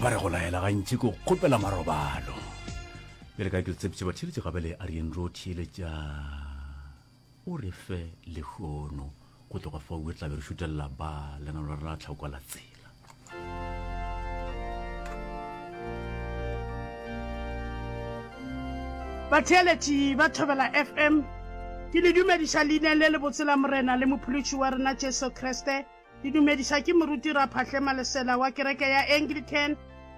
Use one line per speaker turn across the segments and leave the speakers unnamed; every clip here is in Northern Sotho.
Ba re go laela gantši ko kgopela marobalo. Bjale ka ke le tshepiše batheeletši gabele a re yeng ro theeletša o re fe lehono go tloga fao re tla be re šutelela ba lenano la rena la tlhako la tsela.
Batheeletši ba Thobela FM, ke le dumediša leineng le lebotse la Morena le Mophološi wa rena Jesu Kriste. Ke dumediša ke Moruti Raphahle Malesela wa kereke ya Anglican,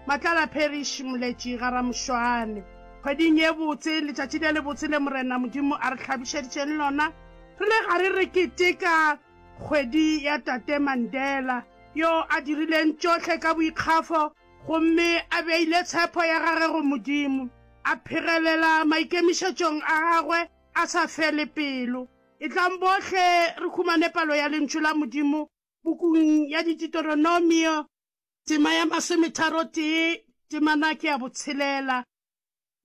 Matlala Parish, Moletši ga Ramošwane. Kgweding ye botse, letšatši le lebotse le Morena Modimo a re hlabišeditšeng lona, re le gare re keteka kgwedi ya Tate Mandela, yo a dirileng tšohle ka boikgafo gomme a beile tshepo ya gage go Modimo, a phegelela maikemišetšong a gagwe a sa fele pelo. Etlang bohle re humane palo ya Lentšu la Modimo pukung ya Dititeronomio, tema ya masometharotee, temana ke ya botshelela.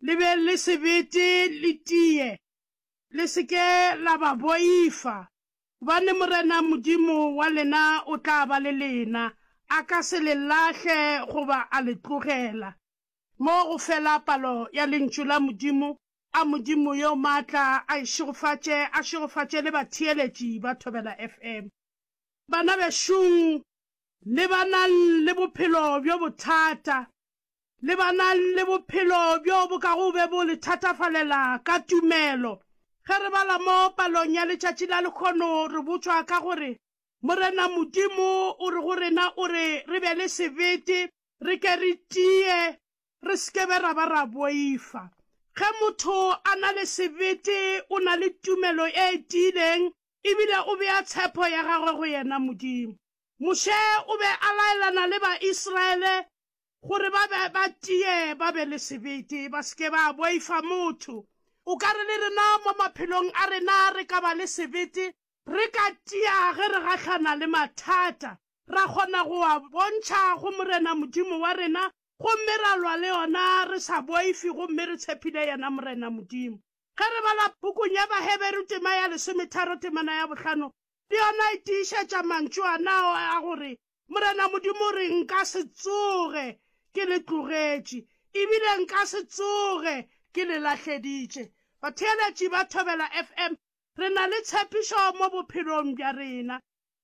Le be le sebete le tie, le se ke la ba boifa, gobane Morena Modimo wa lena o tla ba le lena, a ka se le lahle goba a le tlogela. Mo go fela palo ya Lentšu la Modimo A Modimo yo maatla a e šegofatše, a šegofatše le batheeletši ba Thobela FM. Bana bešong, lebanang le bophelo bjo bothata. Lebanang le bophelo bjo bo kago be bo le thatafalela ka tumelo. Ge re bala mo palong ya letšatši la lekgono re botšwa ka gore, Morena Modimo o re go rena o re re be le sebete, re ke re tie, Re se ke be ra ba ra boifa. Ge motho a na le sebete, o na le tumelo e tiileng e bile o bea tshepo ya gagwe go yena Modimo. Moshe o be a laelana le Baisraele gore ba be ba tie, ba be le sebete, ba se ke ba boifa motho. O ka re le rena mo maphelong a rena re ka ba le sebete, re ka tia ge re gahlana le mathata, ra kgona go a bontšha go Morena Modimo wa rena Gomme ra lwa le yona re sa boife gomme re tshepile yena Morena Modimo. Ge re bala pukung ya Baheberu tema ya lesometharo temana ya bohlano, le yona e tiišetša mantšu anao a gore Morena Modimo o re, Nka se tsoge ke le tlogetše, ebile nka se tsoge ke le lahleditše. Batheeletši ba Thobela FM, re na le tshepišo mo bophelong bja rena.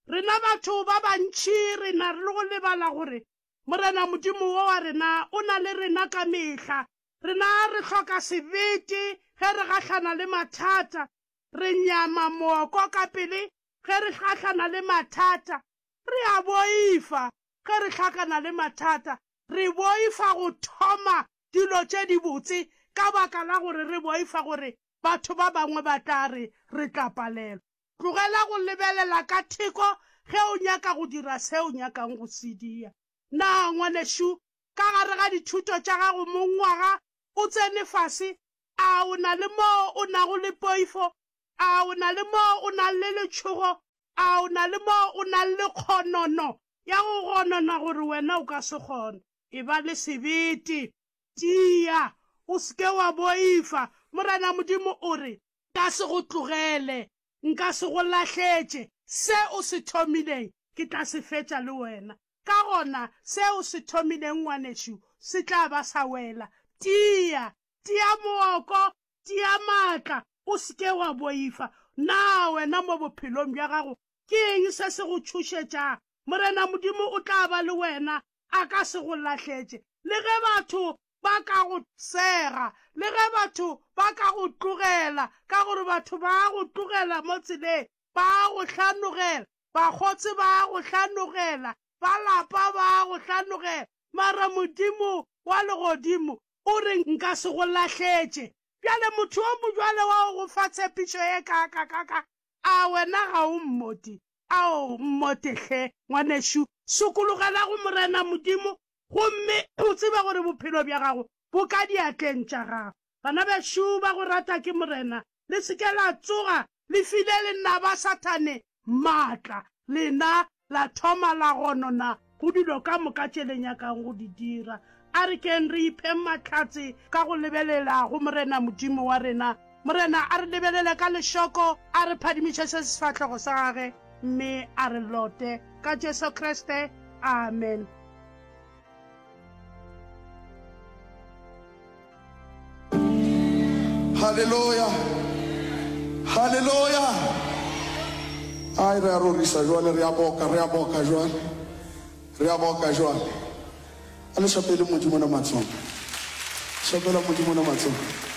Rena batho ba bantši re na le go lebala gore Morena Modimo wo wa rena o na le rena ka mehla. Rena re hloka sebete ge re gahlana le mathata. Re nyama mooko ka pele ge re gahlana le mathata. Re a boifa ge re hlakana le mathata. Re boifa go thoma dilo tše dibotse ka baka la gore re boifa gore batho ba bangwe ba tla re re tla palelwa. Tlogela go lebelela ka theko ge o nyaka go dira se o nyakang go se dia. Na ngwanešu, ka gare ga dithuto tša gago mongwaga o tsene fase, a o na le moo o nago le poifo? A o na le moo o nang le letšhogo? A o na le moo o nang le kgonono ya go gonona gore wena o ka se kgone? Eba le sebete, tia, o se ke wa boifa. Morena Modimo o re, Nka se go tlogele, nka se go lahletše. Se o se thomileng, ke tla se fetša le wena. Ka gona, se o se thomileng, ngwanešu, se tla ba sa wela. Tia, tia mooko, tia maatla, o se ke wa boifa. Na wena mo bophelong bja gago, ke eng se se go tšhošetšang? Morena Modimo o tla ba le wena, a ka se go lahletše. Le ge batho ba ka go sega, le ge batho ba ka go tlogela, ka gore batho ba go tlogela mo tseleng, ba go hlanogela, bakgotse ba go hlanogela, ba lapa ba go hlanogela, mara Modimo wa legodimo o re nka se go lahletše. Bjale motho yo mojwale wa go go fa tshepišo ye kaakakaka, a wena ga o mmoti? Ao, mmote hle, ngwanešu, sokologela go Morena Modimo, gomme o tsebe gore bophelo bja gago bo ka diatleng tša gago. Bana bešo ba go rata ke Morena, le se ke la tsoga le file lenaba Sathane maatla, lena la thoma la gonona go dilo ka moka tše le nyakang go di dira. A re keng re ipheng mahlatse ka go lebelela go Morena Modimo wa rena. Morena a re lebelele ka lešoko, a re phadimiše se sefahlego sa gage, mme a re lote. Ka Jesu Kriste. Amen.
Haleluya! Haleluya! Ai, re a rorisa jwale, re a boka, re a boka jwale, re a boka jwale. A le šapele Modimo na matsogo. Šapela Modimo na matsogo.